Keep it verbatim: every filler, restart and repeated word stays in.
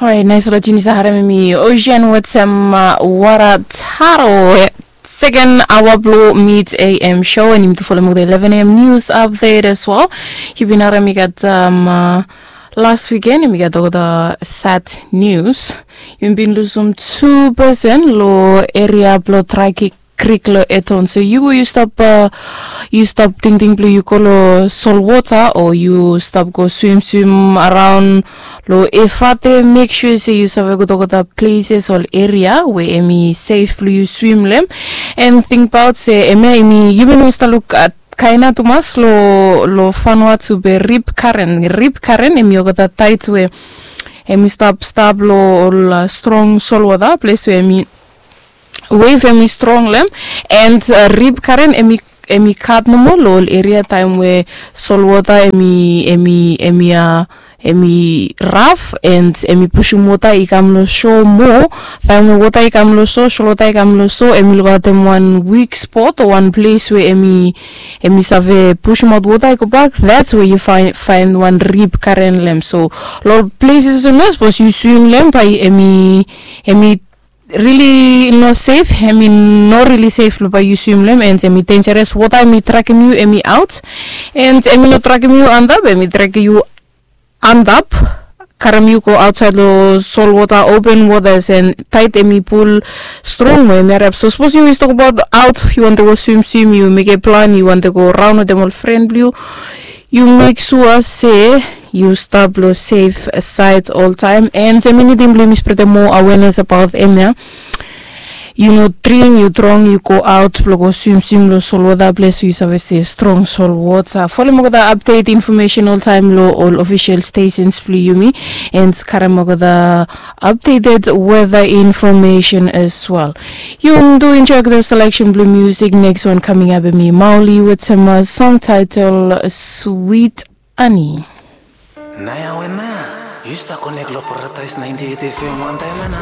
Orait, nais ol a juni sa harem em i Ocean wetem wara taro. Seken aoa blong mit am show, and yumi tu folem olgeta eleven am news update as well. Yu bin harem i gat las wiken em i gat olgeta sad news. Yumi bin lusum tu pesen long eria blong Traiki krik long Eton. So yu go, yu stap yu stap tingting blong yu go long solwota o yu stap go swimswim araon long Efate, mek sua se yu save go tokota pleses ol eria we em i sef blong yu swim long em. And tingbaot se em ya em i, yumi no stap luk kaina tumas long Vanuatu be rip karen, rip karen em i olgeta tait we em i stap stap long ol strong solwota ples we em i wave em i strong long em. And rip karen em i em i kat nomo long ol eria taem we solwota em i em i em i a em i raf and em i pusum wota i kam long so moa. Taem we wota i kam long so, solwota i kam long so, em i lukaotem wan wik spot o wan ples we em i em i save pusumaot wota i gobak, that's where yu faen wan rip karen long em. So long ol pleses olsem ya sapos yu swim long em bae em i em i rili no sef, em i no rili sef blong bae yu swim long em, and em i denjeres. Wota em i trakem yu em i aot, and em i no trakem yu antap, em i trakem yu antap, karem yu go aotsaed long solwota, open wotas, and taed em i pul strong mo em i hariap. So sapos yu yus tokbaot aot, yu wantem go swimswim, yu mekem plan, yu wantem go raon wetem ol fren blong yu, yu mek sua se yu stap long sef saed oltaem. And em i nidim blong yumi spretem moa awenes abaot em ya. Yu no dring, yu drong, yu go aot blong go swimswim long solwota ples we yu save se strong solwota. Folem olgeta apdet infomesen oltaem long ol ofisel stesens blong yumi, and karem olgeta apdeted weta infomesen as well. Yu do enjoy olgeta seleksen blong musik. Neks wan kaming ap em i Mauli wetem song taetel Swit Ani. Naoia we na yu stap konek long Paradaes naenti eit fm wantaem ana.